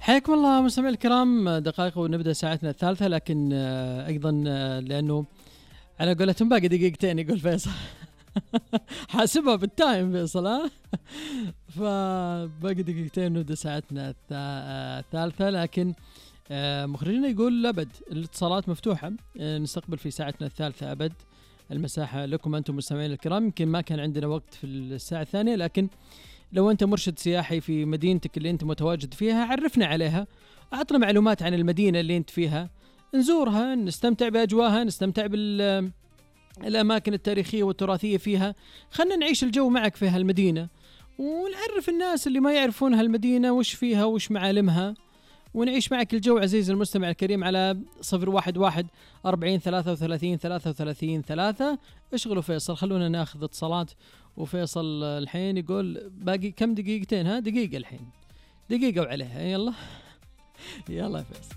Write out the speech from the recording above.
حياكم الله مستمعي الكرام، دقائق ونبدأ ساعتنا الثالثة، لكن أيضا لأنه على قولتهم باقي دقيقتين يقول فيصل. حاسبها بالتايم فيصل، ها. فباقي دقيقتين نبدأ ساعتنا الثالثة، لكن مخرجنا يقول أبد الاتصالات مفتوحة، نستقبل في ساعتنا الثالثة أبد المساحة لكم أنتم مستمعين الكرام. يمكن ما كان عندنا وقت في الساعة الثانية، لكن لو أنت مرشد سياحي في مدينتك اللي أنت متواجد فيها عرفنا عليها، أعطنا معلومات عن المدينة اللي أنت فيها، نزورها، نستمتع بأجواها، نستمتع بالأماكن التاريخية والتراثية فيها، خلنا نعيش الجو معك في هالمدينة، ونعرف الناس اللي ما يعرفون هالمدينة وش فيها وش معالمها، ونعيش معك الجو عزيز المستمع الكريم على 011-40-33-33-3. اشغلوا فيصل، خلونا ناخذ اتصالات. وفيصل الحين يقول باقي كم دقيقتين؟ ها دقيقة الحين، دقيقة وعليها. يلا يلا يا فيصل.